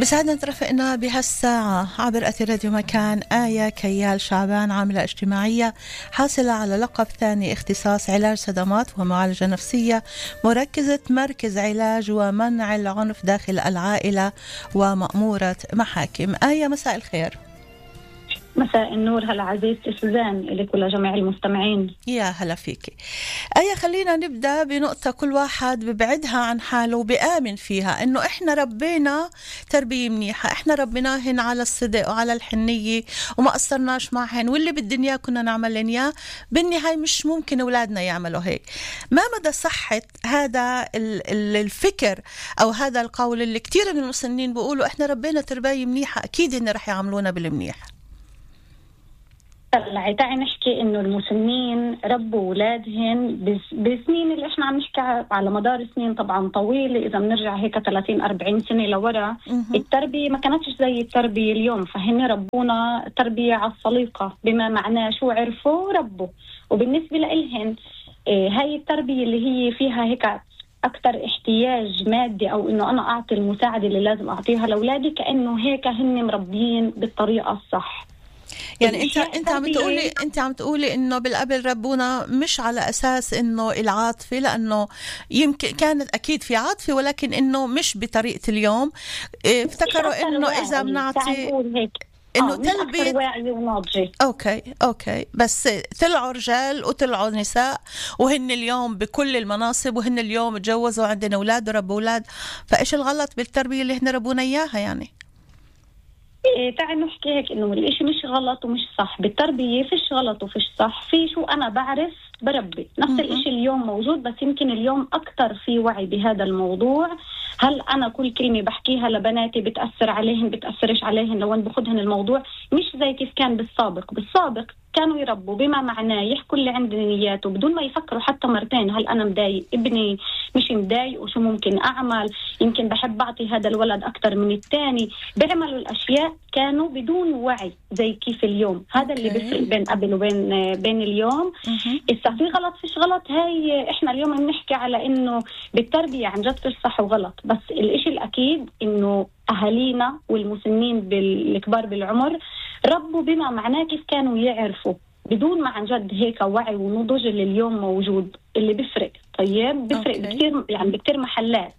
بسعدنا ترافقنا بهالساعة عبر أثير راديو مكان آية كيال شعبان، عاملة اجتماعية حاصلة على لقب ثاني اختصاص علاج صدمات ومعالجة نفسية، مركزة مركز علاج ومنع العنف داخل العائلة ومأمورة محاكم. آية، مساء الخير. مساء النور. هلا عزيزتي سوزان، لك ولجميع المستمعين. يا هلا فيكي آية. خلينا نبدأ بنقطة كل واحد ببعدها عن حاله وبآمن فيها، إنه إحنا ربينا تربية منيحة، إحنا ربيناهن على الصدق وعلى الحنية وما قصرناش معهن، واللي بالدنيا كنا نعملن إياه. بالنهاية مش ممكن أولادنا يعملوا هيك. ما مدى صحة هذا الفكر أو هذا القول اللي كتير من المسنين بيقولوا إحنا ربينا تربية منيحة، أكيد إن رح يعملونا بالمنيح؟ طلعي تعي نحكي انه المسنين ربوا اولادهن بسنين اللي احنا عم نحكي على مدار سنين طبعا طويله. اذا بنرجع هيك 30-40 سنه لورا، التربيه ما كانتش زي التربيه اليوم، فهن ربونا تربيه على السليقه، بما معناه شو عرفوا ربوا. وبالنسبه لإلهن هاي التربيه اللي هي فيها هيك أكتر احتياج مادي، أو إنه أنا أعطي المساعدة اللي لازم أعطيها لأولادي، كأنه هيك هن مربيين بالطريقة الصح. يعني انت عم تقولي انه بالقبل ربونا مش على اساس انه العاطفه، لانه يمكن كانت اكيد في عاطفه، ولكن انه مش بطريقه اليوم. افتكروا انه اذا بنعطي انه تلبية واعي وناضجة. اوكي بس طلعوا رجال وطلعوا نساء، وهن اليوم بكل المناصب، وهن اليوم تجوزوا عندنا اولاد وربوا اولاد. فايش الغلط بالتربيه اللي هن ربونا اياها؟ يعني تعال نحكي هيك انه الاشي مش غلط ومش صح بالتربية. فيش غلط وفيش صح، في شو انا بعرف بربي. نفس الاشي اليوم موجود، بس يمكن اليوم اكتر في وعي بهذا الموضوع. هل انا كل كلمة بحكيها لبناتي بتأثر عليهن بتأثرش عليهن لو ان بخدهن الموضوع؟ مش زي كيف كان بالسابق كانوا يربوا بما معناه يحكوا اللي عند نياته بدون ما يفكروا حتى مرتين. هل أنا مضايق ابني مش مضايق وشو ممكن أعمل؟ يمكن بحب أعطي هذا الولد أكتر من الثاني. بيعملوا الأشياء كانوا بدون وعي زي كيف اليوم. هذا اللي بيفرق بين قبل وبين اليوم. إذا في غلط فيش غلط، هاي إحنا اليوم بنحكي على إنه بالتربية عن جد فيش صح وغلط، بس الإشي الأكيد إنه أهالينا والمسنين بالكبار بالعمر ربوا بما معناه كيف كانوا يعرفوا، بدون ما عن جد هيك وعي ونضج اللي اليوم موجود، اللي بيفرق. طيب بيفرق بكتير، يعني بكتير محلات.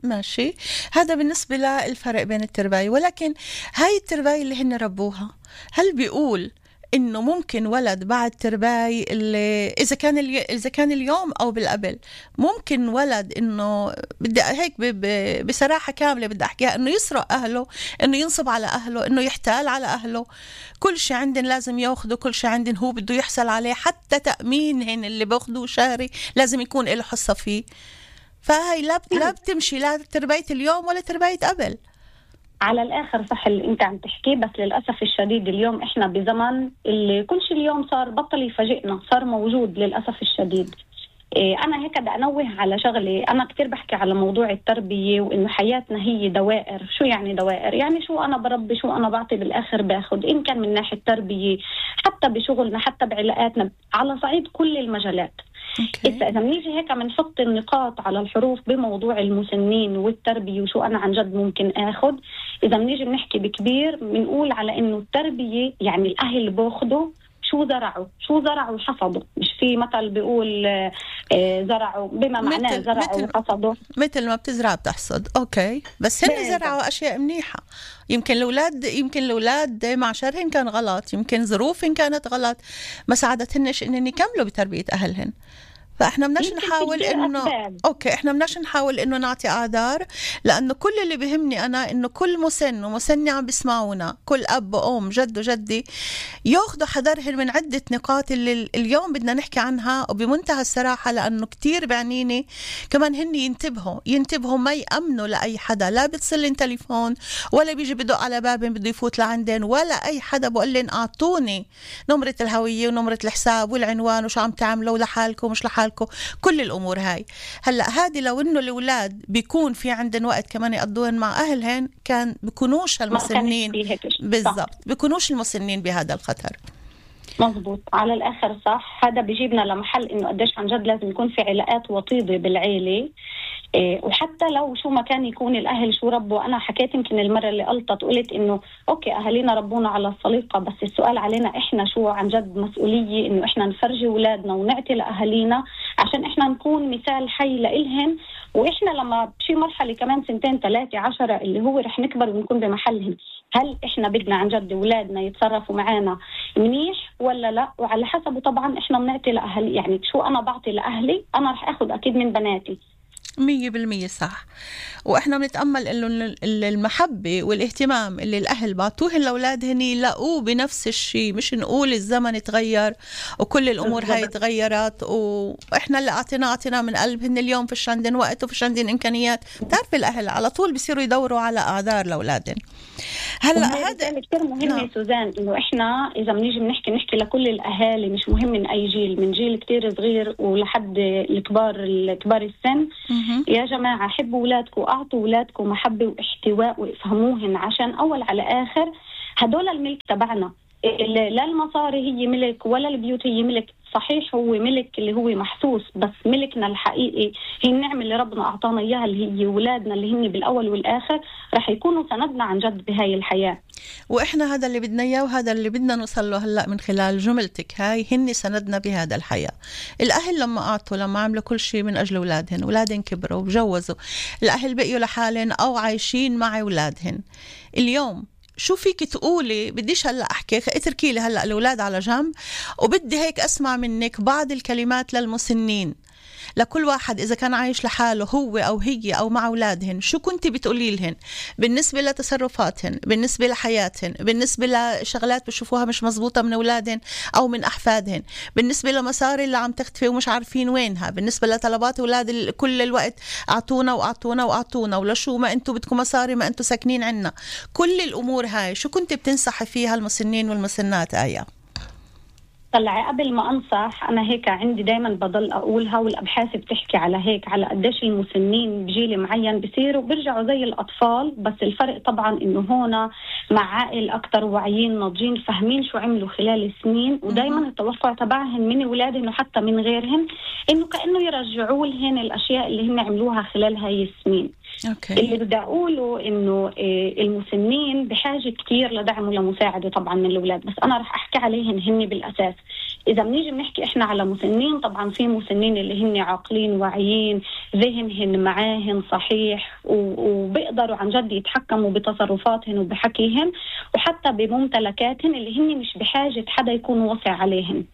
ماشي، هذا بالنسبة للفرق بين الترباية. ولكن هاي الترباية اللي هن ربوها، هل بيقول إنه ممكن ولد بعد ترباية اللي إذا كان اليوم أو بالقبل، ممكن ولد إنه بدي هيك بصراحة كاملة بدي أحكيها، إنه يسرق أهله، إنه ينصب على أهله، إنه يحتال على أهله، كل شيء عندن لازم يأخذوا، كل شيء عندن هو بده يحصل عليه، حتى تأمينهن اللي بأخذوه شهري لازم يكون له حصة فيه. فهي لا بتمشي لا تربية اليوم ولا تربية قبل. على الآخر صح اللي أنت عم تحكيه، بس للأسف الشديد اليوم إحنا بزمن اللي كل شيء اليوم صار بطل يفاجئنا، صار موجود للأسف الشديد. أنا هيك بدي أنوه على شغلة. أنا كتير بحكي على موضوع التربية وإنه حياتنا هي دوائر. شو يعني دوائر؟ يعني شو أنا بربي، شو أنا بعطي، بالآخر باخد، إن كان من ناحية تربية، حتى بشغلنا، حتى بعلاقاتنا، على صعيد كل المجالات. إذا بنيجي هيك بنحط النقاط على الحروف بموضوع المسنين والتربية وشو أنا عن جد ممكن آخد. إذا بنيجي بنحكي بكبير بنقول على إنه التربية يعني الأهل باخدوا شو زرعوا حصدوا. مش في مثل بيقول زرعوا بما معناه زرعوا وحصدوا، مثل ما بتزرع بتحصد. أوكي، بس هن زرعوا أشياء منيحة. يمكن الأولاد مع شرهن كان غلط، يمكن ظروفهن كانت غلط، ما ساعدتهنش إنن يكملوا بتربية أهلهن. فاحنا بدناش نحاول انه احنا بدناش نحاول انه نعطي اعذار، لانه كل اللي بيهمني انا انه كل مسن ومسنة عم بيسمعونا، كل اب وام جد وجدي ياخذوا حذرهم من عده نقاط اللي اليوم بدنا نحكي عنها وبمنتهى الصراحه، لانه كتير بعنيني كمان هن ينتبهوا ما يامنوا لاي حدا، لا بتصل تليفون ولا بيجي بدق على بابن بده يفوت لعندن، ولا اي حدا بقول لن اعطوني نمره الهويه ونمره الحساب والعنوان وشو عم تعملوا لحالكم مش لحالكم، كل الأمور هاي. هلأ هذه لو إنه الأولاد بيكون في عندن وقت كمان يقضون مع أهلهن، كان بيكونوش المسنين بالضبط، بيكونوش المسنين بهذا الخطر. مزبوط، على الآخر صح. هذا بيجيبنا لمحل إنه قديش عن جد لازم يكون في علاقات وطيدة بالعيلة. وحتى لو شو ما كان يكون الأهل شو ربوا. أنا حكيت يمكن المرة اللي قلت إنه أوكي أهالينا ربونا على السليقة، بس السؤال علينا إحنا شو عن جد مسؤولية إنه إحنا نفرجي أولادنا ونعطي لأهالينا عشان إحنا نكون مثال حي لإلهن. وإحنا لما بشي مرحلة كمان 2 3 10 اللي هو رح نكبر ونكون بمحلهم، هل إحنا بدنا عن جد أولادنا يتصرفوا معانا منيح ولا لا؟ وعلى حسبه طبعا إحنا بنعطي لأهلي. يعني شو أنا بعطي لأهلي أنا رح أخذ أكيد من بناتي. 100% صح. وإحنا بنتأمل إنه المحبة والاهتمام اللي الأهل بعطوهن لأولادهن يلاقوه بنفس الشيء، مش نقول الزمن تغير وكل الأمور هاي تغيرت وإحنا اللي أعطينا من قلبهن اليوم فيش عندن وقت وفيش عندن إمكانيات. تعرف الأهل على طول بيصيروا يدوروا على أعذار لأولادهن. هلا هذا كتير مهم سوزان، إنه إحنا إذا بنيجي نحكي لكل الأهالي، مش مهم من أي جيل، من جيل كتير صغير ولحد الكبار السن. يا جماعة حبوا أولادكم وأعطوا أولادكم محبة واحتواء وافهموهن، عشان أول على آخر هدول الملك تبعنا. لا المصاري هي ملك ولا البيوت هي ملك. صحيح هو ملك اللي هو محسوس، بس ملكنا الحقيقي هي النعمة اللي ربنا أعطانا إياها اللي هي أولادنا اللي هن بالأول والآخر رح يكونوا سندنا عن جد بهاي الحياة. وإحنا هذا اللي بدنا إياه وهذا اللي بدنا نوصل له هلأ من خلال جملتك هاي، هن سندنا بهذا الحياة. الأهل لما عملوا كل شيء من أجل أولادهن كبروا وجوزوا، الأهل بقيوا لحالهم أو عايشين مع أولادهن. اليوم شو فيك تقولي؟ بديش هلأ أحكي، اتركي لي هلأ الأولاد على جنب، وبدي هيك أسمع منك بعض الكلمات للمسنين، لكل واحد إذا كان عايش لحاله هو أو هي أو مع أولادهن. شو كنتي بتقولي لهن بالنسبة لتصرفاتهن، بالنسبة لحياتهن، بالنسبة لشغلات بشوفوها مش مزبوطة من أولادهن أو من أحفادهن، بالنسبة لمصاري اللي عم تختفي ومش عارفين وينها، بالنسبة لطلبات أولاد كل الوقت أعطونا وأعطونا وأعطونا، ولا شو ما أنتوا بدكم مصاري ما أنتوا ساكنين عنا. كل الأمور هاي شو كنتي بتنصحي فيها المسنين والمسنات آية؟ طلعي قبل ما أنصح، أنا هيك عندي دايما بضل أقولها، والأبحاث بتحكي على هيك، على قديش المسنين بجيل معين بيصيروا بيرجعوا زي الأطفال، بس الفرق طبعا إنه هنا مع عائل أكتر واعيين ناضجين فاهمين شو عملوا خلال السنين. ودايما التوقع تبعهن من أولادهن وحتى من غيرهن إنه كأنه يرجعوا لهن الأشياء اللي هن عملوها خلال هاي السنين. اللي بدي أقوله إنه المسنين بحاجة كتير لدعم ولمساعدة طبعا من الأولاد، بس أنا رح أحكي عليهن هن بالأساس. إذا بنيجي بنحكي إحنا على مسنين، طبعا في مسنين اللي هن عاقلين واعيين، ذهنهن معاهن صحيح وبيقدروا عن جد يتحكموا بتصرفاتهن وبحكيهن وحتى بممتلكاتهن اللي هن مش بحاجة حدا يكون وصي عليهن.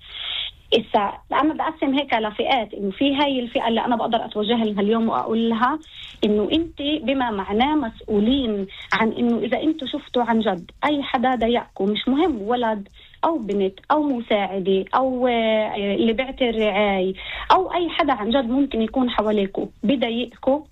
إذا أنا بقسم هيك لفئات، إنه في هاي الفئة اللي أنا بقدر أتوجه لها اليوم وأقول لها إنه أنت بما معناه مسؤولين عن إنه إذا أنتوا شفتوا عن جد أي حدا ضايقكم، مش مهم ولد أو بنت أو مساعدة أو اللي بيعطي الرعاية أو أي حدا عن جد ممكن يكون حواليكم بضايقكم،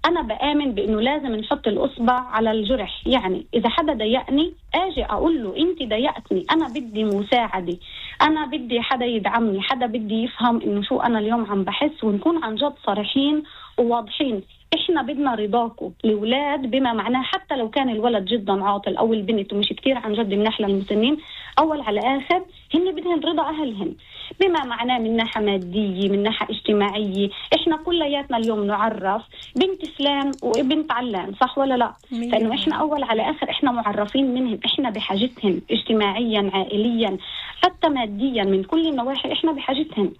أنا بآمن بأنه لازم نحط الأصبع على الجرح. يعني إذا حدا ضايقني أجي أقول له أنت ضايقتني، أنا بدي مساعدة، أنا بدي حدا يدعمني، حدا بدي يفهم إنه شو أنا اليوم عم بحس، ونكون عن جد صريحين وواضحين. إحنا بدنا رضاكم الأولاد بما معناه، حتى لو كان الولد جدا عاطل أو البنت ومش كتير عن جد منحلى المسنين، أول على آخر هن بدهن رضا أهلهن بما معناه من ناحية مادية من ناحية اجتماعية. إحنا كلياتنا اليوم نعرف بنت فلان وبنت علان، صح ولا لا؟ فإنه إحنا أول على آخر إحنا معرفين منهم، إحنا بحاجتهم اجتماعيا عائليا حتى ماديا من كل النواحي إحنا بحاجتهم.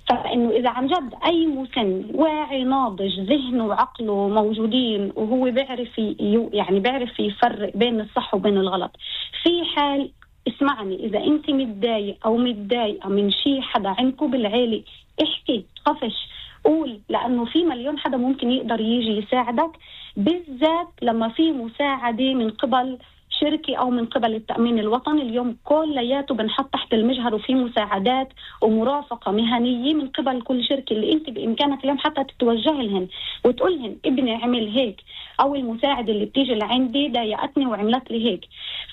فإنه إذا عن جد أي مسن واعي ناضج ذهنه وعقله موجودين وهو بيعرف يفرق بين الصح وبين الغلط، في حال اسمعني، إذا أنت متضايق أو متضايقة من شيء حدا عندكم بالعيلة، احكي، خفش، قول، لأنه في مليون حدا ممكن يقدر يجي يساعدك، بالذات لما في مساعدة من قبل شركة أو من قبل التأمين الوطني. اليوم كلياته بنحط تحت المجهر وفي مساعدات ومرافقة مهنية من قبل كل شركة اللي أنت بإمكانك اليوم حتى تتوجه لهن وتقولهن ابني عمل هيك، أو المساعد اللي بتيجي لعندي ضايقتني وعملت لي هيك.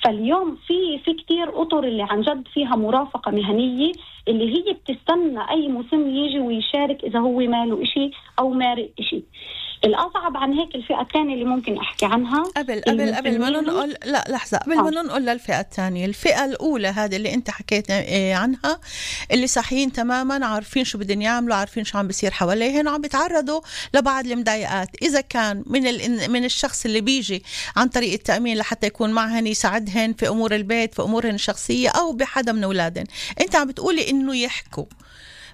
فاليوم في كتير أطر اللي عن جد فيها مرافقة مهنية اللي هي بتستنى أي مسن يجي ويشارك إذا هو ماله إشي أو مارق إشي. الأصعب عن هيك الفئة الثانية اللي ممكن أحكي عنها قبل ما ننقل، لا لحظة، قبل ما ننقل للفئة الثانية، الفئة الأولى هذه اللي أنت حكيت عنها، اللي صحيين تماما، عارفين شو بدهم يعملوا، عارفين شو عم بيصير حواليهم، وعم بيتعرضوا لبعض المضايقات. إذا كان من الشخص اللي بيجي عن طريق التأمين لحتى يكون معهن يساعدهن في أمور البيت، في أمورهن الشخصية، أو بحدا من أولادهن، أنت عم بتقولي إنه يحكوا.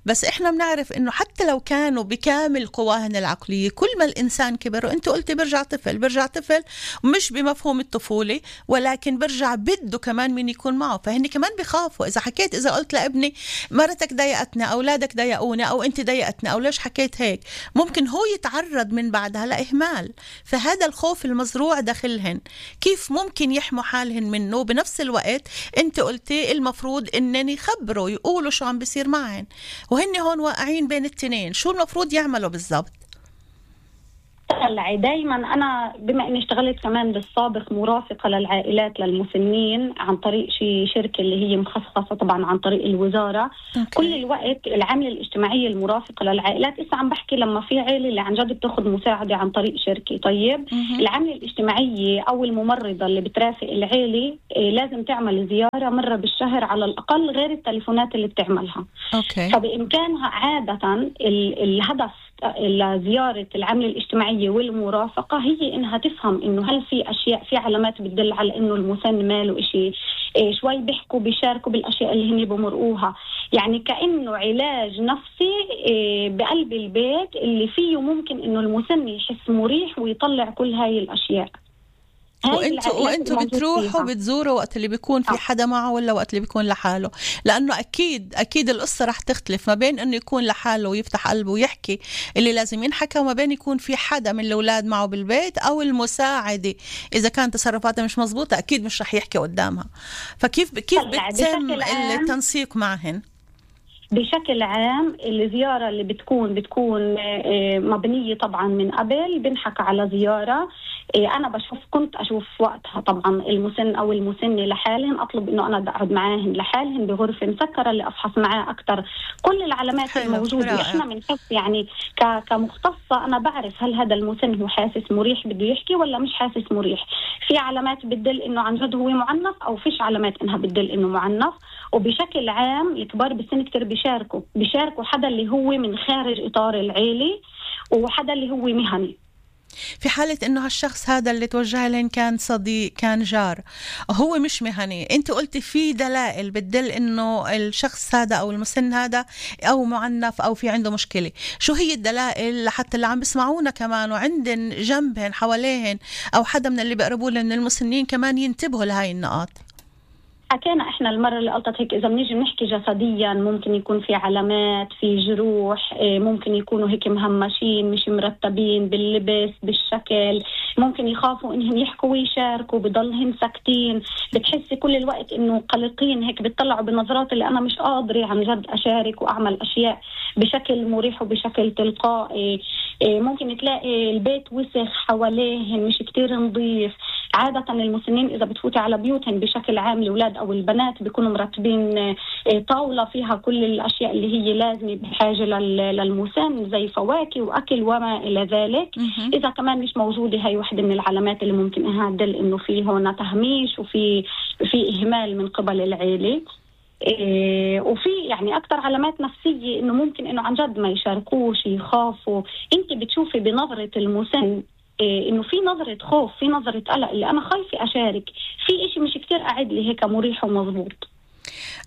بس احنا بنعرف انه حتى لو كانوا بكامل قواهن العقلية، كل ما الانسان كبر، وانت قلتي برجع طفل مش بمفهوم الطفولة، ولكن برجع بده كمان من يكون معه. فهني كمان بخافوا. اذا قلت لابني مرتك ضايقتنا، اولادك ضايقونا، او انت ضايقتنا، او ليش حكيت هيك، ممكن هو يتعرض من بعدها لاهمال. فهذا الخوف المزروع داخلهن، كيف ممكن يحموا حالهن منه؟ بنفس الوقت انت قلتي المفروض انني يخبروا، يقولوا شو عم بيصير معهن، وهن هون واقعين بين التنين. شو المفروض يعملوا بالضبط؟ دايما أنا بما أني اشتغلت كمان بالسابق مرافقة للعائلات للمسنين عن طريق شركة اللي هي مخصصة طبعا عن طريق الوزارة. كل الوقت العاملة الاجتماعية المرافقة للعائلات، إسا عم بحكي لما في عائلة اللي عن جد بتاخد مساعدة عن طريق شركة، طيب العاملة الاجتماعية أو الممرضة اللي بترافق العائلة لازم تعمل زيارة مرة بالشهر على الأقل، غير التليفونات اللي بتعملها. فبإمكانها عادة الهدف لزيارة العاملة الاجتماعية والمرافقة هي إنها تفهم إنه هل في أشياء، في علامات بتدل على إنه المسن ماله إشي، شوي بيحكوا بيشاركوا بالأشياء اللي هن بمرقوها، يعني كأنه علاج نفسي بقلب البيت اللي فيه ممكن إنه المسن يحس مريح ويطلع كل هاي الأشياء. وانتوا بتروحوا بتزوروا وقت اللي بيكون في حدا معه ولا وقت اللي بيكون لحاله؟ لأنه أكيد القصة رح تختلف ما بين أنه يكون لحاله ويفتح قلبه ويحكي اللي لازم ينحكى، وما بين يكون في حدا من الأولاد معه بالبيت أو المساعدة. إذا كانت تصرفاتها مش مزبوطة أكيد مش رح يحكي قدامها. فكيف بتتم التنسيق معهن؟ بشكل عام الزيارة اللي بتكون مبنية طبعا من قبل، بنحكى على زيارة. أنا كنت أشوف وقتها طبعا المسن أو المسنة لحالهم، أطلب إنه أنا أقعد معاهم لحالهم بغرفة مسكرة اللي أفحص معاه أكتر كل العلامات الموجودة. إحنا بنحس يعني كمختصة أنا بعرف هل هذا المسن هو حاسس مريح بده يحكي ولا مش حاسس مريح. في علامات بتدل إنه عن جد هو معنف، أو فيش علامات إنها بتدل إنه معنف. وبشكل عام الكبار بالسن كتير بيشاركوا حدا اللي هو من خارج إطار العيلة وحدا اللي هو مهني. في حالة إنه هالشخص هذا اللي توجه لهم كان صديق، كان جار، هو مش مهني، أنت قلتي في دلائل بتدل إنه الشخص هذا أو المسن هذا أو معنف أو في عنده مشكلة. شو هي الدلائل لحتى اللي عم بسمعونا كمان وعندن جنبهن حواليهن أو حدا من اللي بيقربوا لهم من المسنين كمان ينتبهوا لهاي النقاط؟ حكينا احنا المرة اللي قلتت هيك، اذا بنيجي نحكي جسديا ممكن يكون في علامات، في جروح، ممكن يكونوا هيك مهمشين، مش مرتبين باللبس بالشكل، ممكن يخافوا انهم يحكوا ويشاركوا، بضلهم ساكتين، بتحسي كل الوقت انه قلقين هيك، بتطلعوا بنظرات اللي انا مش قادرة عن جد اشارك واعمل اشياء بشكل مريح وبشكل تلقائي. ممكن تلاقي البيت وسخ حواليهم، مش كتير نظيف. عادة المسنين إذا بتفوتي على بيوتهم بشكل عام الأولاد أو البنات بيكونوا مرتبين طاولة فيها كل الأشياء اللي هي لازمة بحاجة للمسن زي فواكه وأكل وما إلى ذلك. إذا كمان مش موجودة، هاي واحدة من العلامات اللي ممكن إنها تدل إنه في هون تهميش وفي إهمال من قبل العيلة. وفي يعني أكتر علامات نفسية إنه ممكن إنه عن جد ما يشاركوش، يخافوا. أنت بتشوفي بنظرة المسن إنه في نظرة خوف، في نظرة قلق، اللي أنا خايفة أشارك في إشي مش كتير قاعد لي هيك مريح ومضبوط.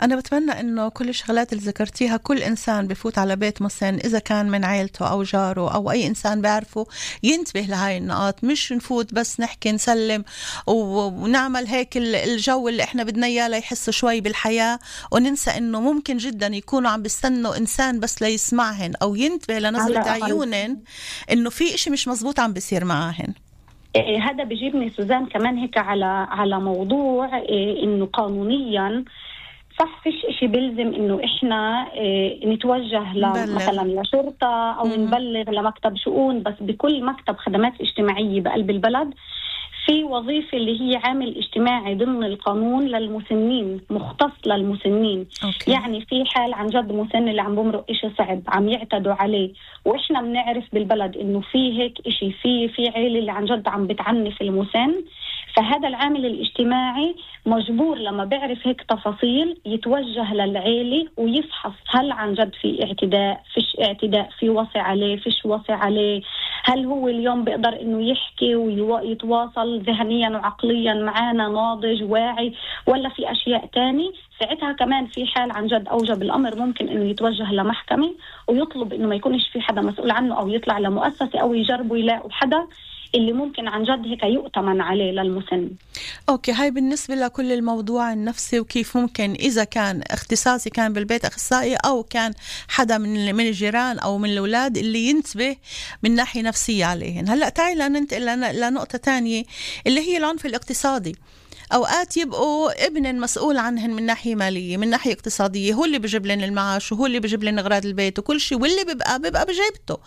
أنا بتمنى إنه كل الشغلات اللي ذكرتيها كل إنسان بفوت على بيت مسن، إذا كان من عائلته أو جاره أو أي إنسان بيعرفه، ينتبه لهاي النقاط. مش نفوت بس نحكي نسلم ونعمل هيك الجو اللي إحنا بدنا إياه ليحسوا شوي بالحياة، وننسى إنه ممكن جدا يكونوا عم بيستنوا إنسان بس ليسمعهن أو ينتبه لنظرة عيونهن إنه في إشي مش مزبوط عم بيصير معهن. هذا بيجيبني سوزان كمان هيك على موضوع إنه قانونيا صح فيش إشي بيلزم إنه إحنا نتوجه مثلا لشرطة أو نبلغ لمكتب شؤون، بس بكل مكتب خدمات اجتماعية بقلب البلد في وظيفة اللي هي عامل اجتماعي ضمن القانون للمسنين، مختص للمسنين. يعني في حال عن جد مسن اللي عم بمرق إشي صعب عم يعتدوا عليه، وإحنا بنعرف بالبلد إنه في هيك إشي، في عيلة اللي عن جد عم بتعنف المسن، فهذا العامل الاجتماعي مجبور لما بيعرف هيك تفاصيل يتوجه للعيلة ويفحص هل عن جد في اعتداء، فيش اعتداء، في وصي عليه، فيش وصي عليه، هل هو اليوم بيقدر إنه يحكي ويتواصل ذهنيا وعقليا معنا، ناضج واعي، ولا في أشياء تاني. ساعتها كمان في حال عن جد أوجب الأمر ممكن إنه يتوجه لمحكمة ويطلب إنه ما يكونش في حدا مسؤول عنه، أو يطلع لمؤسسة، أو يجربوا يلاقوا حدا اللي ممكن عن جد هيك يؤتمن عليه للمسن. أوكي، هاي بالنسبة لكل الموضوع النفسي، وكيف ممكن إذا كان اختصاصي كان بالبيت أخصائي، أو كان حدا من الجيران أو من الأولاد اللي ينتبه من ناحية نفسية عليهن. هلأ تعي لننتقل لنقطة تانية اللي هي العنف الاقتصادي. أوقات يبقوا ابن مسؤول عنهن من ناحية مالية، من ناحية اقتصادية، هو اللي بيجيب لن المعاش، وهو اللي بيجيب لن أغراض البيت وكل شيء، واللي بيبقى بجيبته.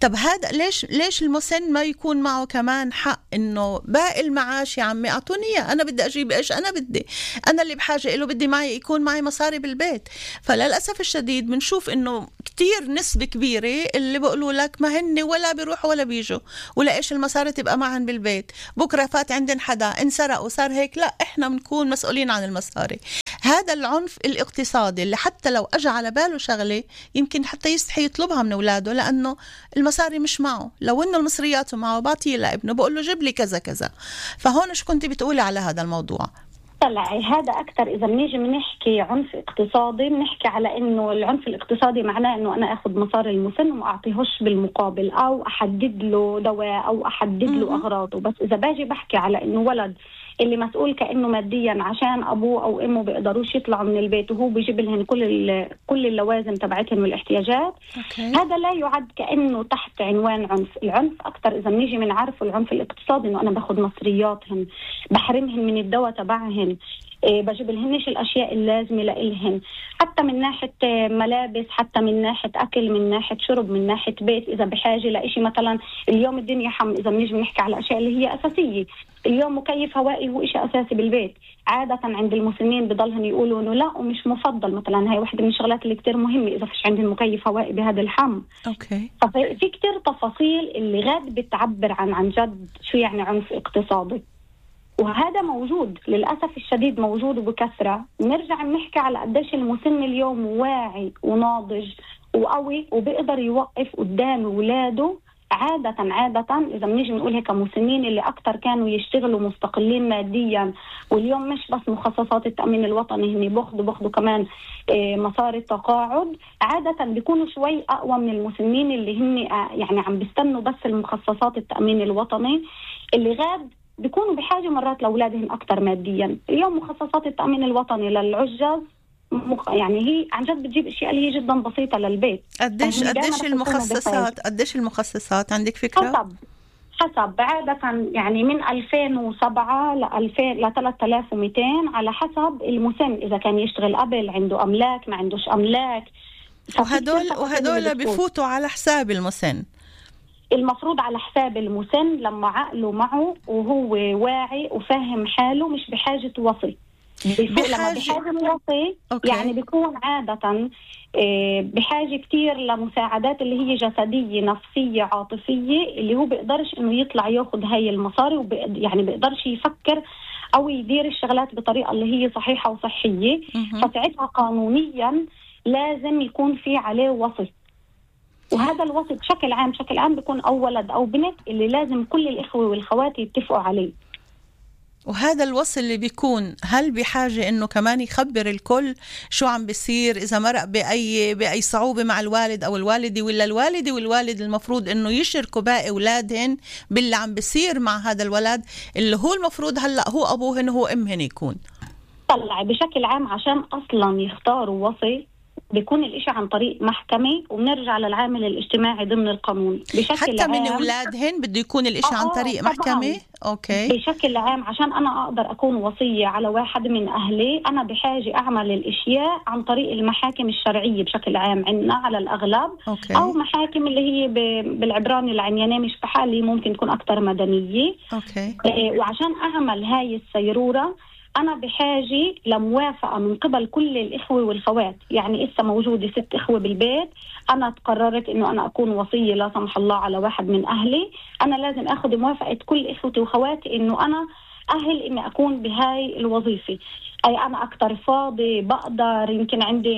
طب هذا ليش المسن ما يكون معه كمان حق إنه باقي المعاش يا عمي أعطوني إياه، أنا بدي أجيب إيش أنا بدي، أنا اللي بحاجة إله، بدي يكون معي مصاري بالبيت. فللأسف الشديد بنشوف إنه كتير نسبة كبيرة اللي بيقولوا لك ما هن ولا بيروحوا ولا بيجوا، ولا إيش المصاري تبقى معهم بالبيت، بكرة فات عندن حدا انسرق وصار هيك، لا إحنا بنكون مسؤولين عن المصاري. هذا العنف الاقتصادي اللي حتى لو أجى على باله شغلة يمكن حتى يستحي يطلبها من أولاده، لأنه المصاري مش معه. لو إنه المصريات معه بعطيه لابنه، بقول له جيب لي كذا كذا. فهون شو كنت بتقولي على هذا الموضوع؟ طلعي هذا أكتر. إذا بنيجي بنحكي عنف اقتصادي، بنحكي على إنه العنف الاقتصادي معناه إنه أنا أخذ مصاري المسن وما أعطيهوش بالمقابل، أو أحدد له دواء، أو أحدد له أغراضه. بس إذا باجي بحكي على إنه ولد اللي مسؤول كأنه ماديا عشان أبوه أو أمه بيقدروش يطلعوا من البيت، وهو بيجيب لهم كل اللوازم تبعتهم والاحتياجات، هذا لا يعد كأنه تحت عنوان عنف. العنف أكتر إذا بنيجي بنعرفه العنف الاقتصادي إنه أنا باخد مصرياتهم، بحرمهم من الدواء تبعهم، بجيب لهنش الأشياء اللازمة لإلهن، حتى من ناحية ملابس، حتى من ناحية أكل، من ناحية شرب، من ناحية بيت. إذا بحاجة لإشي مثلا اليوم الدنيا إذا بنيجي بنحكي على الأشياء اللي هي أساسية، اليوم مكيف هوائي هو إشي أساسي بالبيت. عادة عند المسنين بضلهم يقولوا إنه لا ومش مفضل، مثلا هاي واحدة من الشغلات اللي كتير مهمة إذا فيش عندهم مكيف هوائي بهذا الحم. ففي كتير تفاصيل اللي غاد بتعبر عن جد شو يعني عنف اقتصادي، وهذا موجود للأسف الشديد، موجود وبكثرة. نرجع نحكي على قديش المسن اليوم واعي وناضج وقوي وبيقدر يوقف قدام ولاده. عادة إذا بنيجي بنقول هيك مسنين اللي أكتر كانوا يشتغلوا مستقلين ماديا، واليوم مش بس مخصصات التأمين الوطني هني بياخدوا كمان مصاري التقاعد، عادة بيكونوا شوي أقوى من المسنين اللي هن يعني عم بيستنوا بس المخصصات التأمين الوطني، اللي غاد بيكونوا بحاجة مرات لأولادهم أكتر ماديا. اليوم مخصصات التأمين الوطني للعجاز يعني هي عن جد بتجيب أشياء اللي هي جدا بسيطة للبيت. قديش المخصصات عندك فكرة؟ حسب عادة يعني من 2007 ل 3200 على حسب المسن، إذا كان يشتغل قبل، عنده أملاك، ما عندوش أملاك. وهدول بفوتوا على حساب المسن، المفروض على حساب المسن لما عقله معه وهو واعي وفاهم حاله، مش بحاجة وصي. لما بحاجة وصي يعني بيكون عادة بحاجة كتير لمساعدات اللي هي جسدية، نفسية، عاطفية، اللي هو بيقدرش إنه يطلع ياخد هاي المصاري، يعني بيقدرش يفكر أو يدير الشغلات بطريقة اللي هي صحيحة وصحية. فساعتها قانونيا لازم يكون في عليه وصي، وهذا الوصي بشكل عام بيكون أو ولد أو بنت اللي لازم كل الإخوة والخوات يتفقوا عليه. وهذا الوصي اللي بيكون هل بحاجة إنه كمان يخبر الكل شو عم بيصير، إذا مرق بأي صعوبة مع الوالد أو الوالدة، ولا الوالدة والوالد المفروض إنه يشاركوا باقي أولادهن باللي عم بيصير مع هذا الولد اللي هو المفروض هلأ هو أبوهن هو أمهن يكون. طلع بشكل عام عشان أصلا يختاروا وصي بيكون الإشي عن طريق محكمة، وبنرجع للعامل الاجتماعي ضمن القانون بشكل حتى عام. من أولادهن بده يكون الإشي عن طريق محكمة؟ أوكي. بشكل عام عشان أنا أقدر أكون وصية على واحد من أهلي أنا بحاجة أعمل الإشياء عن طريق المحاكم الشرعية بشكل عام عندنا على الأغلب. أوكي. أو محاكم اللي هي بالعبراني العنيانة مش بحالي ممكن تكون أكتر مدنية. أوكي. وعشان أعمل هاي السيرورة أنا بحاجة لموافقة من قبل كل الإخوة والخوات. يعني إسا موجودة 6 إخوة بالبيت، أنا تقررت إنه أنا أكون وصية لا سمح الله على واحد من أهلي، أنا لازم أخذ موافقة كل إخوتي وخواتي إنه أنا أهل إني أكون بهاي الوظيفة. أي أنا أكتر فاضي بقدر، يمكن عندي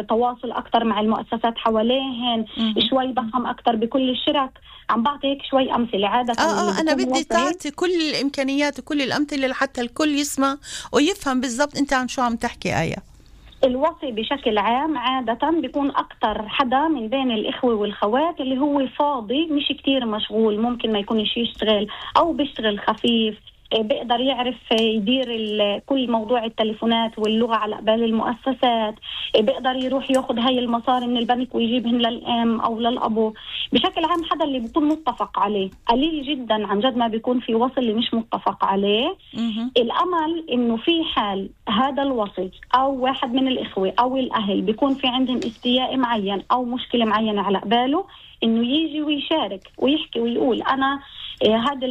تواصل أكتر مع المؤسسات حواليهن، شوي بفهم أكتر بكل الشرك. عم بعطي هيك شوي أمثلة عادة. أنا بدي تعطي كل الإمكانيات وكل الأمثلة لحتى الكل يسمع ويفهم بالضبط أنت عن شو عم تحكي. آية، الوصي بشكل عام عادة بيكون أكتر حدا من بين الإخوة والخوات اللي هو فاضي، مش كتير مشغول، ممكن ما يكونش يشتغل أو بيشتغل خفيف، بيقدر يعرف يدير كل موضوع التليفونات واللغة على قبال المؤسسات، بيقدر يروح ياخد هاي المصاري من البنك ويجيبهن للأم أو للأبو. بشكل عام حدا اللي بيكون متفق عليه. قليل جدا عن جد ما بيكون في وصي اللي مش متفق عليه. الأمل إنه في حال هذا الوصي أو واحد من الإخوة أو الأهل بيكون في عندهم استياء معين أو مشكلة معينة على قباله، إنه يجي ويشارك ويحكي ويقول أنا هذا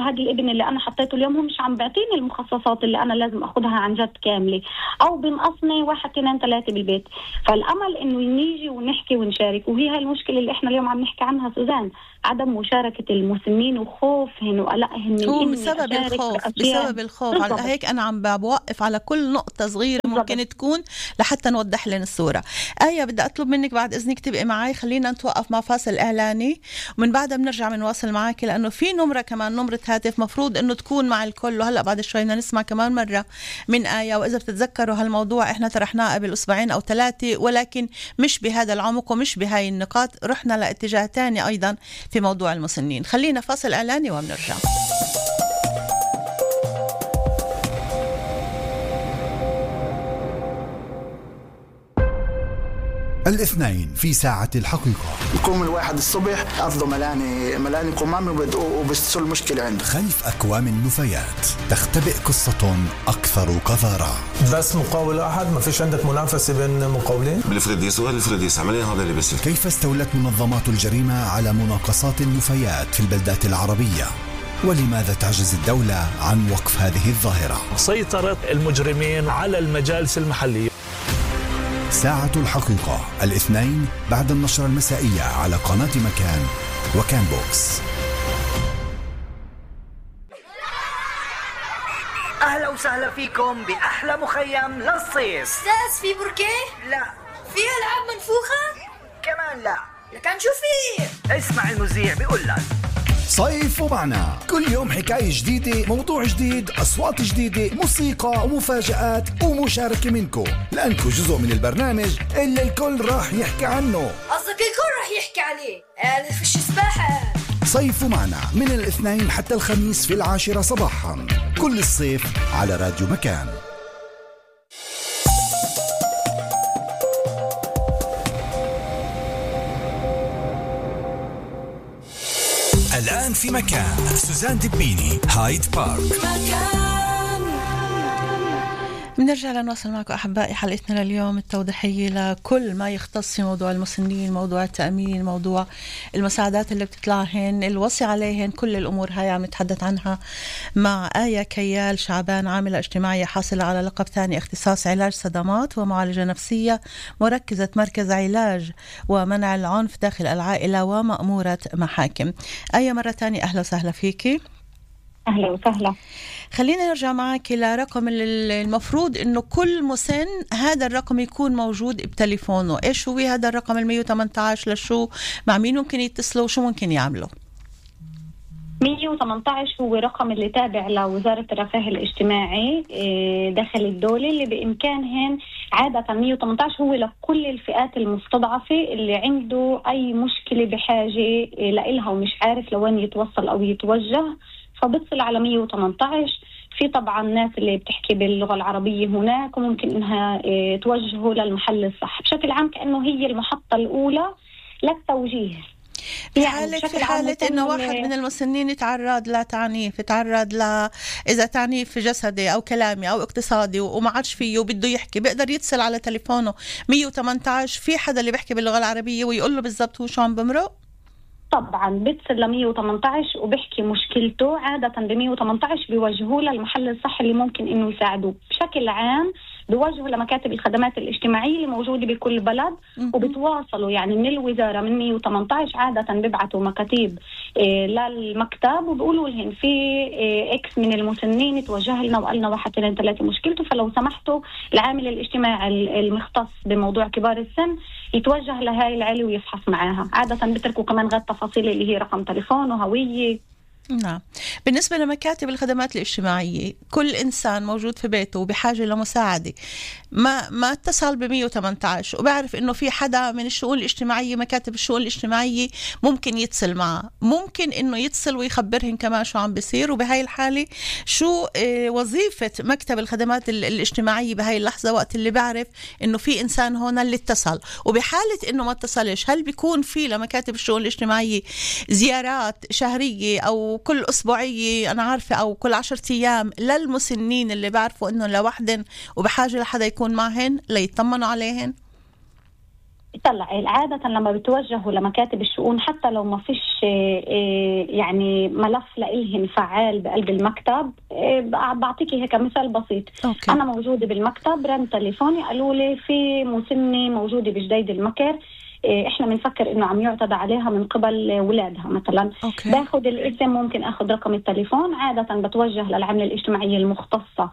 الابن اللي أنا حطيته اليوم هو مش عم بيعطيني المخصصات اللي أنا لازم أخذها عن جد كاملة، أو بنقصني 1 2 3 بالبيت. فالأمل إنه نيجي ونحكي ونشارك. وهي هاي المشكلة اللي إحنا اليوم عم نحكي عنها سوزان، عدم مشاركة المسنين وخوفهن وقلقهن هو بسبب الخوف. على هيك أنا عم بوقف على كل نقطة صغيرة ممكن تكون لحتى نوضح لنا الصورة. آية، بدي أطلب منك بعد إذنك تبقي معي، خلينا نتوقف مع فاصل إعلاني ومن بعدها بنرجع بنواصل معك، لأنه في نمرة كمان، نمرة هاتف مفروض إنه تكون مع الكل. وهلأ بعد شوي بدنا نسمع كمان مرة من آية. وإذا بتتذكروا هالموضوع إحنا طرحناه قبل 2 أو 3، ولكن مش بهذا العمق ومش بهاي النقاط، رحنا لاتجاه تاني أيضا في موضوع المسنين. خلينا فاصل إعلاني وبنرجع. الاثنين في ساعة الحقيقة. يقوم الواحد الصبح أفضل ملاني قمامي وبستصل المشكلة عنده. خلف أكوام النفايات تختبئ قصة أكثر قذارة. بس مقاول واحد، ما فيش عندك منافسة بين مقاولين؟ بالفرديس والفرديس عمليا هذا اللي بيصير. كيف استولت منظمات الجريمة على مناقصات النفايات في البلدات العربية؟ ولماذا تعجز الدولة عن وقف هذه الظاهرة؟ سيطرة المجرمين على المجالس المحلية. ساعة الحقيقة الاثنين بعد النشرة المسائية على قناة مكان وكان بوكس. أهلا وسهلا فيكم بأحلى مخيم للصيف. أستاذ في بركيه؟ لا. في ألعاب منفوخة؟ كمان لا. لكن شو في؟ اسمع المذيع بيقول لك صيف ومعنا، كل يوم حكاية جديدة، موضوع جديد، أصوات جديدة، موسيقى ومفاجآت ومشاركة منكم، لأنكم جزء من البرنامج اللي الكل راح يحكي عنه. قصدك الكل راح يحكي عليه؟ أنا فيش سباحة. صيف ومعنا من الاثنين حتى الخميس في 10 صباحا كل الصيف على راديو مكان. الآن في مكان سوزان دبيني، هايد بارك. بنرجع لنواصل معكم أحبائي حلقتنا لليوم التوضيحية لكل ما يختص في موضوع المسنين، موضوع التأمين، موضوع المساعدات اللي بتطلعهن، الوصي عليهن، كل الأمور هاي عم نتحدث عنها مع آية كيال شعبان، عاملة اجتماعية حاصلة على لقب ثاني اختصاص علاج صدمات ومعالجة نفسية، مركزة مركز علاج ومنع العنف داخل العائلة ومأمورة محاكم. آية مرة تانية أهلا وسهلا فيكي. أهلا وسهلا. خلينا نرجع معك لرقم المفروض إنه كل مسن هذا الرقم يكون موجود بتليفونه. إيش هو هذا الرقم 118 لشو؟ مع مين ممكن يتصلوا وشو ممكن يعملوا؟ 118 هو رقم اللي تابع لوزارة الرفاه الاجتماعي داخل الدولة، اللي بإمكانهن عادة 118 هو لكل الفئات المستضعفة اللي عنده أي مشكلة بحاجة لإلها ومش عارف لوين يتوصل أو يتوجه، فبتصل على 118. في طبعا ناس اللي بتحكي باللغة العربية هناك، وممكن إنها توجهه للمحل الصح. بشكل عام كأنه هي المحطة الأولى للتوجيه. في حالة إنه واحد من المسنين يتعرض لتعنيف، يتعرض إذا تعنيف جسدي أو كلامي أو اقتصادي وما عادش فيه وبده يحكي، بيقدر يتصل على تليفونه 118. في حدا اللي بيحكي باللغة العربية ويقول له بالضبط هو شو عم بمرق؟ طبعا بيتصل ل 118 وبيحكي مشكلته. عادة ب 118 بيوجهوه للمحل الصح اللي ممكن إنه يساعدوه. بشكل عام بيوجهوا لمكاتب الخدمات الاجتماعية اللي موجودة بكل بلد، وبتواصلوا يعني من الوزارة من 118 عادة بيبعتوا مكاتيب للمكتب وبيقولوا لهم في إكس من المسنين توجه لنا وقالنا 1 2 3 مشكلته، فلو سمحتوا العامل الاجتماعي المختص بموضوع كبار السن يتوجه لهاي العيلة ويفحص معاها. عادة بتركوا كمان غير تفاصيل اللي هي رقم تليفون وهوية. نعم. بالنسبة لمكاتب الخدمات الاجتماعية، كل إنسان موجود في بيته وبحاجة لمساعدة ما اتصل ب 118 وبعرف إنه في حدا من الشؤون الاجتماعية، مكاتب الشؤون الاجتماعية ممكن يتصل معه، ممكن إنه يتصل ويخبرهن كمان شو عم بيصير. وبهاي الحالة شو وظيفة مكتب الخدمات الاجتماعية بهاي اللحظة وقت اللي بعرف إنه في إنسان هون اللي اتصل. وبحالة إنه ما اتصلش، هل بيكون في لمكاتب الشؤون الاجتماعية زيارات شهرية أو كل أسبوعية أنا عارفة أو كل 10 أيام للمسنين اللي بعرفوا إنه لوحدن وبحاجة لحدا يكون معهن ليطمنوا عليهن؟ طلع عادة لما بتوجهوا لمكاتب الشؤون حتى لو ما فيش يعني ملف لإلهن فعال بقلب المكتب، بعطيكي هيك مثال بسيط. أوكي. أنا موجودة بالمكتب، رن تليفوني قالوا لي في مسنة موجودة بجديد المكر، احنا بنفكر انه عم يعتدى عليها من قبل ولادها مثلا. أوكي. باخد الاسم، ممكن اخد رقم التليفون، عادة بتوجه للعملة الاجتماعية المختصة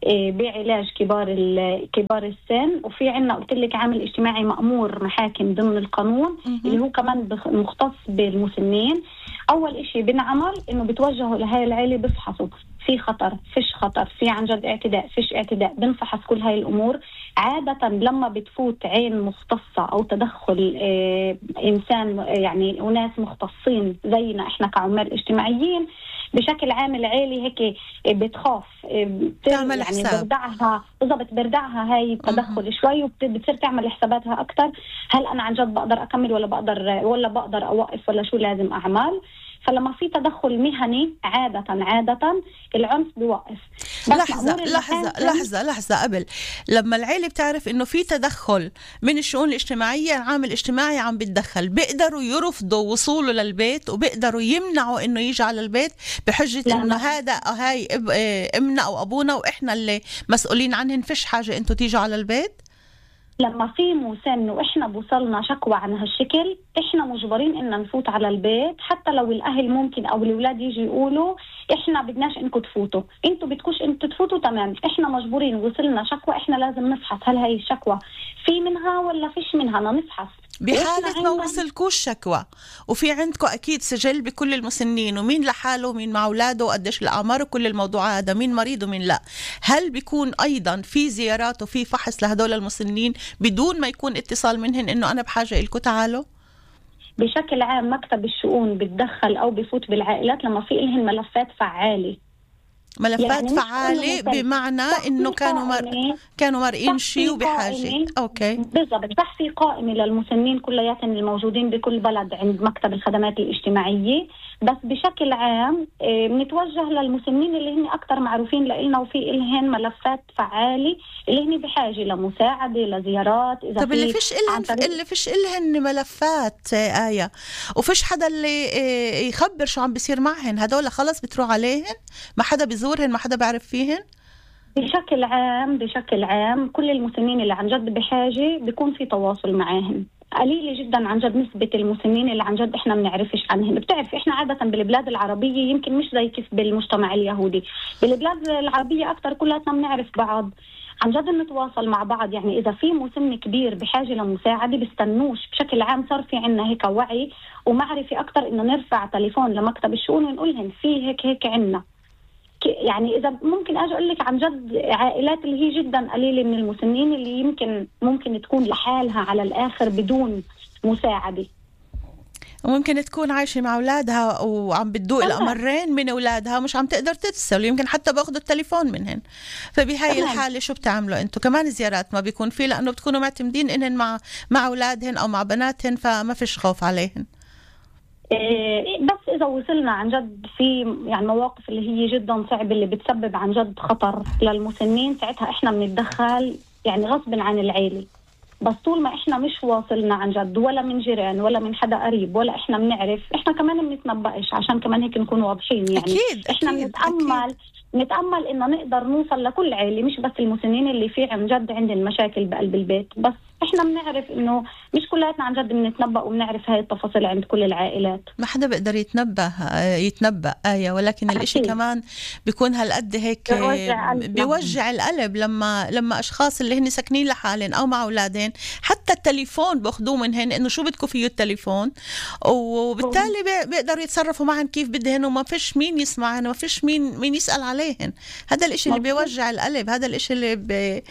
بعلاج كبار السن. وفي عنا قلت لك عامل اجتماعي مأمور محاكم ضمن القانون اللي هو كمان مختص بالمسنين. اول اشي بنعمل انه بتوجهوا لهاي العيلة، بفحصوا في خطر فيش خطر، في عن جد اعتداء فيش اعتداء، بنفحص كل هاي الامور. عادة لما بتفوت عين مختصة او تدخل انسان يعني وناس مختصين زينا احنا كعمال اجتماعيين، بشكل عام العيلة هيك بتخاف، تعمل يعني حساب. بردعها هاي التدخل شوي، وبتصير تعمل حساباتها اكتر. هل انا عن جد بقدر اكمل ولا بقدر اوقف ولا شو لازم اعمل؟ فلما في تدخل مهني عادة العنف بيوقف. لحظة قبل، لما العيلة بتعرف انه في تدخل من الشؤون الاجتماعية، العامل الاجتماعي عم بتدخل، بيقدروا يرفضوا وصوله للبيت وبيقدروا يمنعوا انه يجي على البيت بحجة انه هاي امنا او ابونا واحنا اللي مسؤولين عنهن، فيش حاجة انتوا تيجوا على البيت. لما في مسن واحنا بوصلنا شكوى عن هالشكل، احنا مجبرين ان نفوت على البيت، حتى لو الاهل ممكن او الاولاد يجي يقولوا احنا بدناش انكم تفوتوا، انتوا بدكوش انتوا تفوتوا، تمام، احنا مجبورين. وصلنا شكوى احنا لازم نفحص هل هاي الشكوى في منها ولا فيش منها، نفحص. بحالة ما وصلكوش شكوى وفي عندكم أكيد سجل بكل المسنين ومين لحاله ومين مع أولاده وقديش الأعمار وكل الموضوع هذا، مين مريض ومين لا، هل بيكون أيضا في زيارات وفي فحص لهدول المسنين بدون ما يكون اتصال منهن إنه أنا بحاجة إلكم تعالوا؟ بشكل عام مكتب الشؤون بتدخل أو بفوت بالعائلات لما في إلهن ملفات فعالة. ملفات يعني فعالة بمعنى إنه كانوا مرئين شيء وبحاجة. أوكي. بالضبط، بحثي قائمة للمسنين كلياتهم الموجودين بكل بلد عند مكتب الخدمات الاجتماعية، بس بشكل عام بنتوجه للمسنين اللي هن أكتر معروفين لإلنا وفي إلهن ملفات فعالة اللي هن بحاجة لمساعدة لزيارات. إذا طب اللي فيش إلهن ملفات آية وفيش حدا اللي يخبر شو عم بيصير معهن، هدول خلص بتروح عليهن، ما حدا بيزورهن، ما حدا بيعرف فيهن. بشكل عام كل المسنين اللي عن جد بحاجة بيكون في تواصل معاهم. قليلة جدا عن جد نسبة المسنين اللي عن جد احنا بنعرفش عنهم. بتعرف احنا عادة بالبلاد العربية يمكن مش زي كيف بالمجتمع اليهودي، بالبلاد العربية اكتر كلنا بنعرف بعض، عن جد نتواصل مع بعض. يعني اذا في مسن كبير بحاجة لمساعدة بيستنوش. بشكل عام صار في عنا هيك وعي ومعرفة اكتر انه نرفع تليفون لمكتب الشؤون ونقولهم في هيك عنا. يعني إذا ممكن أجي أقول لك عن جد عائلات اللي هي جدا قليلة من المسنين اللي ممكن تكون لحالها على الآخر بدون مساعدة. وممكن تكون عايشة مع أولادها وعم بتدوق الأمرين من أولادها مش عم تقدر تتصل، يمكن حتى باخدوا التليفون منهن. فبهاي الحالة شو بتعملوا أنتوا؟ كمان زيارات ما بيكون فيه، لأنه بتكونوا معتمدين إنهن مع أولادهن أو مع بناتهن، فما فيش خوف عليهن. بس إذا وصلنا عن جد في يعني مواقف اللي هي جدا صعبة اللي بتسبب عن جد خطر للمسنين، ساعتها إحنا بنتدخل يعني غصب عن العيلة. بس طول ما إحنا مش واصلنا عن جد ولا من جيران ولا من حدا قريب ولا إحنا بنعرف، إحنا كمان بنتنبأش عشان كمان هيك نكون واضحين. يعني إحنا نتأمل إنه نقدر نوصل لكل عائلة، مش بس المسنين اللي في عن جد عندهم مشاكل بقلب البيت. بس إحنا بنعرف إنه مش كلاتنا عن جد بنتنبأ وبنعرف هاي التفاصيل عند كل العائلات. ما حدا بيقدر يتنبأ آية، ولكن الإشي كمان بيكون هالقد هيك بيوجع القلب لما أشخاص اللي هن ساكنين لحالهم أو مع أولادين حتى التليفون باخدوه منهن إنه شو بدكم فيه التليفون، وبالتالي بيقدروا يتصرفوا معهم كيف بدهن وما فيش مين يسمعهن وما فيش مين يسأل عليهن. هذا الإشي اللي بيوجع القلب، هذا الإشي اللي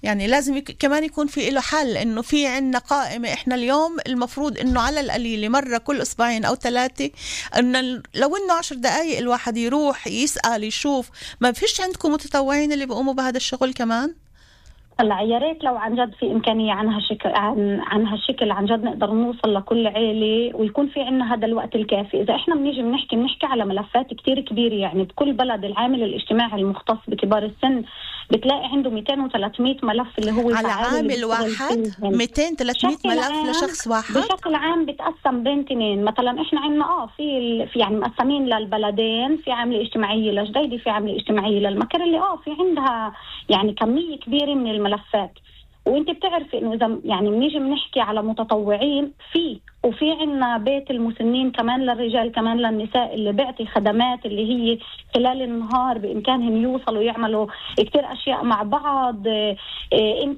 يعني لازم كمان يكون في له حل. إنه في عنا قائمة إحنا اليوم المفروض إنه على القليل مرة كل أسبوعين أو 3 إنه لو إنه 10 دقايق الواحد يروح يسأل يشوف. ما فيش عندكم متطوعين اللي بيقوموا بهذا الشغل كمان؟ هلا يا ريت لو عن جد في إمكانية عن هالشكل عن جد نقدر نوصل لكل عائلة ويكون في عنا هذا الوقت الكافي. إذا إحنا بنحكي على ملفات كتير كبيرة، يعني بكل بلد العامل الاجتماعي المختص بكبار السن بتلاقي عنده 200 و300 ملف اللي هو على عامل واحد. 200-300 ملف لشخص واحد بشكل عام بتقسم بين 2. مثلا إحنا عنا في يعني مقسمين للبلدين، في عاملة اجتماعية لجديدة، في عاملة اجتماعية للمكر اللي في عندها يعني كمية كبيرة من الملفات. وانت بتعرفي انه اذا يعني بنيجي بنحكي على متطوعين وفي عنا بيت المسنين كمان للرجال كمان للنساء اللي بيعطي خدمات اللي هي خلال النهار بإمكانهم يوصلوا يعملوا كتير أشياء مع بعض. إن